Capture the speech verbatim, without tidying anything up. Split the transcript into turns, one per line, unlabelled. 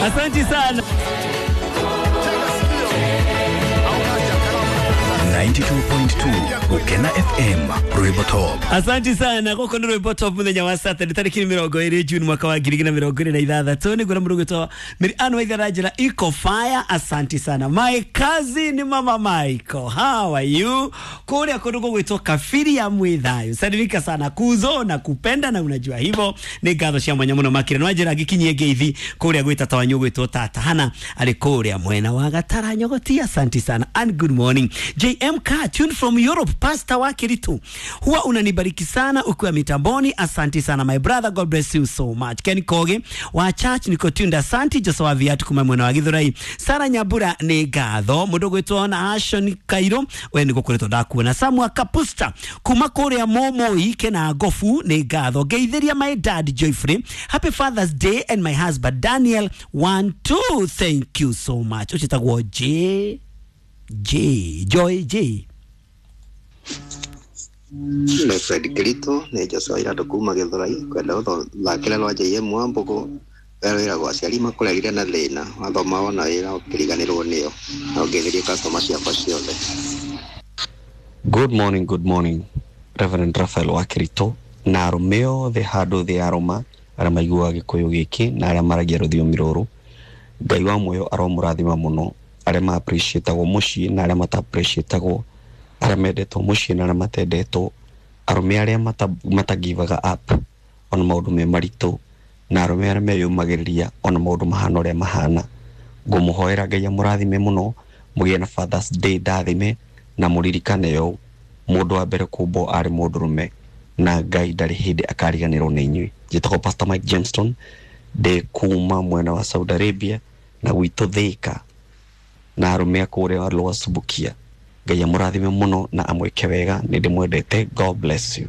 Asante sana.
ninety-two point two Ukena F M Rwimbo Top.
Asante sana goko ni Rwimbo Top muthenya wa Saturday tariki mirongo iri June mwaka wa ngiri igĩrĩ na mirongo ĩrĩ na ithathatũ nĩguo na mũrugĩtwo Mary Ann Waithera njĩra iko fire. Asante sana my cousin Mama Michael, how are you? Kũrĩa kũndũ gũgwĩtwo Kabiri ya Mwĩthayũ, salimika sana kuzo na kupenda na unajua hivyo nĩ ngatho cia mwanya mũno makĩria no njĩra ngĩkinyie ngeithi kũrĩa gwĩ tata wanyu gwĩtwo tata Hana arĩ kũrĩa mwena wa Gatara Nyogoti. Asante sana and good morning. J M K tuned from Europe, Pastor wa Kiritu, huwa unanibariki sana ukiwa mitamboni. Asante sana my brother, God bless you so much. Ken Koge wa church niko tuned, asante. Joseph wa Viatu kuma mwena wa Githurai. Sara Nyabura ni ngatho mundu gwitwo na Ashon Kairo we niko kuretwo ndakuona. Samuel Kapusta kuma kuria Momoi kena Gofu ni ngatho. Ngeithiria my dad Joyfrey, happy Father's Day, and my husband Daniel one two, thank you so much. Uchitagwo J J Joy J
Nĩ Fred Kirito nĩ Joshua Iratũ kuma Gĩthũrai kwenda gũthakĩra rwa J M Wambũgũ wĩragwo aciari makũrerire na thĩna wathoma wona wĩra ũkĩriganĩrwo nĩo na ũngĩthĩrie customer ciakwa ciothe.
Good morning, good morning Reverend Raphael wa Kirito na arũme othe handũ thĩ arũma arĩa maiguaga gĩkũyũ gĩkĩ na arĩa maragia rũthiomi rũrũ. Ngai wa muoyo aromũrathima mũno arĩa ma appreciatagwo mũciĩ na arĩa mata appreciatagwo, arĩa mendetwo mũciĩ na arĩa matendetwo, arũme arĩa mata, matagivaga up ona maũndũ me maritũ na arũme arĩa meyũmagĩrĩria ona maũndũ mahana ũrĩa mahana. Ngũmũhoera Ngai amũrathime mũno mũgĩe na Father's Day ndathime na mũririkane ũũ, mũndũ wa mbere kũmbwo arĩ mũndũrũme na Ngai ndarĩ hĩndĩ akariganĩrwo nĩ inyuĩ. Njĩtagwo Pastor Mike Johnston, ndĩ kuma mwena wa Saudi Arabia na gwitũ Thika na arũme a kũrĩa Lower Subukia. Ngai amũrathime mũno na amwĩke wega, nĩ ndĩmwendete. God bless you.